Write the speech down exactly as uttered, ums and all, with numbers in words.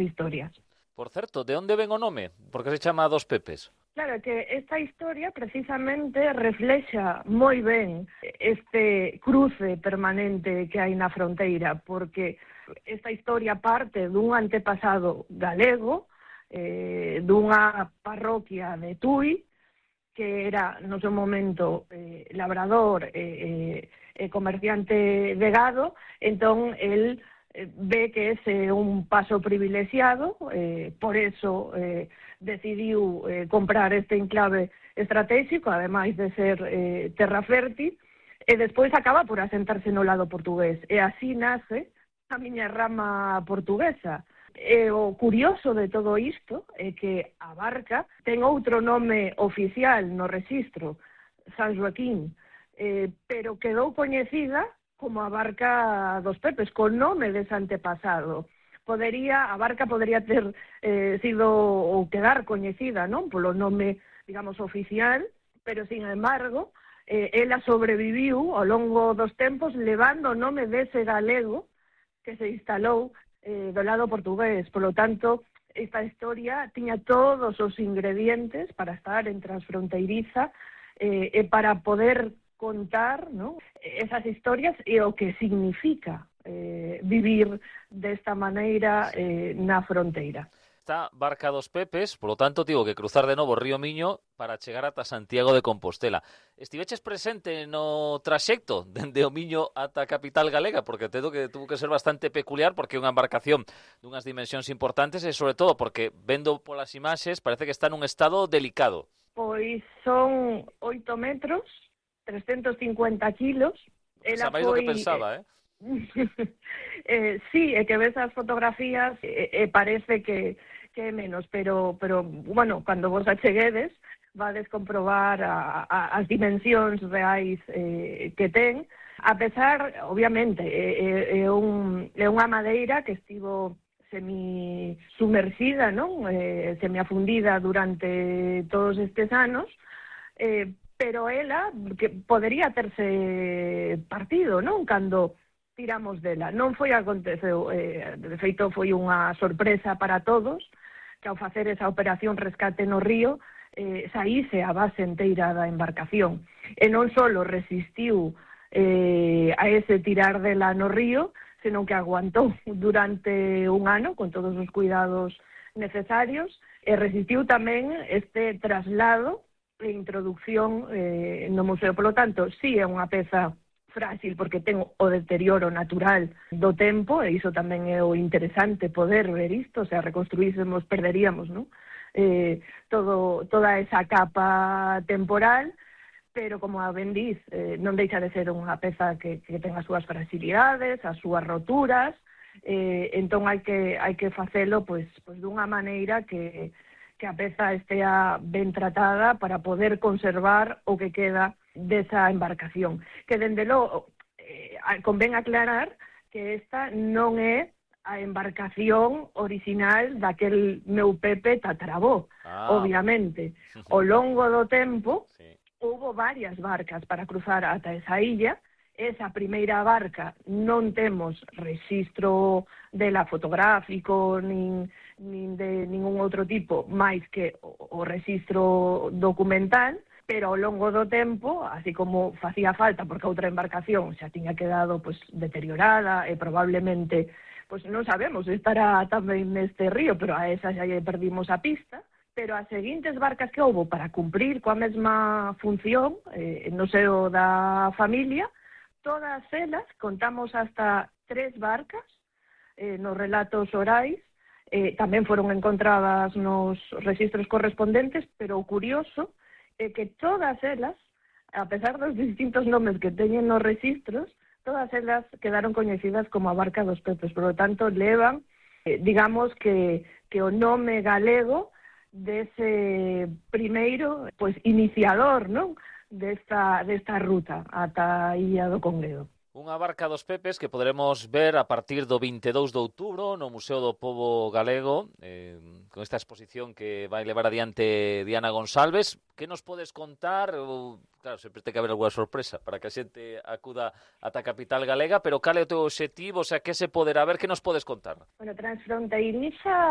historias. Por certo, de onde ven o nome? Por que se chama Dos Pepes? Claro, que esta historia precisamente reflexa moi ben este cruce permanente que hai na fronteira, porque esta historia parte dun antepasado galego, eh, dunha parroquia de Tui, que era no seu momento eh, labrador e eh, eh, comerciante de gado. Entón, el eh, ve que ese é un paso privilexiado, eh, por eso eh, decidiu eh, comprar este enclave estratégico, ademais de ser eh, terra fértil, e despois acaba por asentarse no lado portugués, e así nace a miña rama portuguesa. E o curioso de todo isto é que a barca ten outro nome oficial no rexistro, San Joaquín, eh, pero quedou coñecida como a barca Dos Pepes, con nome dese antepasado. Podería, a barca podería ter eh, sido ou quedar coñecida, non, polo nome, digamos, oficial, pero, sin embargo, eh, ela sobreviviu ao longo dos tempos levando o nome dese galego que se instalou eh, do lado portugués. Por lo tanto, esta historia tiña todos os ingredientes para estar en transfronteiriza eh, e para poder contar, ¿no?, esas historias e o que significa eh, vivir desta maneira eh, na fronteira. Esta barca Dos Pepes, polo tanto, tivo que cruzar de novo o río Miño para chegar ata Santiago de Compostela. Estiveches presente no traxecto dende o Miño ata a capital galega, porque tedo que tuvo que ser bastante peculiar, porque é unha embarcación dunhas dimensións importantes e, sobre todo, porque, vendo polas imaxes, parece que está nun estado delicado. Pois son oito metros, trescentos cincuenta kilos. Ela máis do que pensaba, eh? eh, sí, é que ves as fotografías e, e parece que, que é menos, pero, pero, bueno, cando vos acheguedes, vades comprobar a, a, as dimensións reais eh, que ten, a pesar, obviamente, é, é, un, é unha madeira que estivo semi-sumerxida, non? Eh, semi-afundida durante todos estes anos, eh, pero ela que podería terse partido, non? Cando tiramos dela. Non foi aconteceu, eh, de feito foi unha sorpresa para todos, que ao facer esa operación rescate no río, eh, saíse a base enteira da embarcación. E non só resistiu eh, a ese tirar dela no río, senón que aguantou durante un ano, con todos os cuidados necesarios, e resistiu tamén este traslado e introducción eh, no museo. Polo tanto, sí é unha peza frágil, porque ten o deterioro natural do tempo, e iso tamén é o interesante, poder ver isto, o sea, reconstruísemos, perderíamos, non? Eh, todo, toda esa capa temporal, pero, como a ben dís, eh, non deixa de ser unha peza que, que ten as súas fragilidades, as súas roturas, eh, entón hai que, hai que facelo pois, pois dunha maneira que, que a peza estea ben tratada para poder conservar o que queda desa embarcación, que dende logo eh, convén aclarar que esta non é a embarcación original daquel meu Pepe tataravó, ah, obviamente. Ao longo do tempo, sí, houbo varias barcas para cruzar ata esa illa. Esa primeira barca non temos rexistro dela fotográfico nin, nin de ningún outro tipo máis que o, o rexistro documental, pero ao longo do tempo, así como facía falta, porque outra embarcación xa tiña quedado pois deteriorada e probablemente, pois non sabemos, estará tamén neste río, pero a esa xa lle perdimos a pista. Pero as seguintes barcas que houbo para cumprir coa mesma función eh, no seo da familia, todas elas, contamos hasta tres barcas eh, nos relatos orais, eh, tamén foron encontradas nos rexistros correspondentes, pero o curioso é que todas elas, a pesar dos distintos nomes que teñen nos rexistros, todas elas quedaron coñecidas como a barca Dos Pepes. Por lo tanto, levan, eh, digamos que, que o nome galego dese primeiro, pois, iniciador, non?, desta, desta ruta ata a Illa do Congredo. Unha barca Dos Pepes que poderemos ver a partir do vinte e dous de outubro no Museo do Pobo Galego, eh, con esta exposición que vai levar adiante Diana González. Que nos podes contar? Ou, claro, sempre ten que haber alguna sorpresa para que a xente acuda ata a capital galega, pero cal é o teu obxectivo? O sea, que se poderá ver? Que nos podes contar? Bueno, transfronteiriza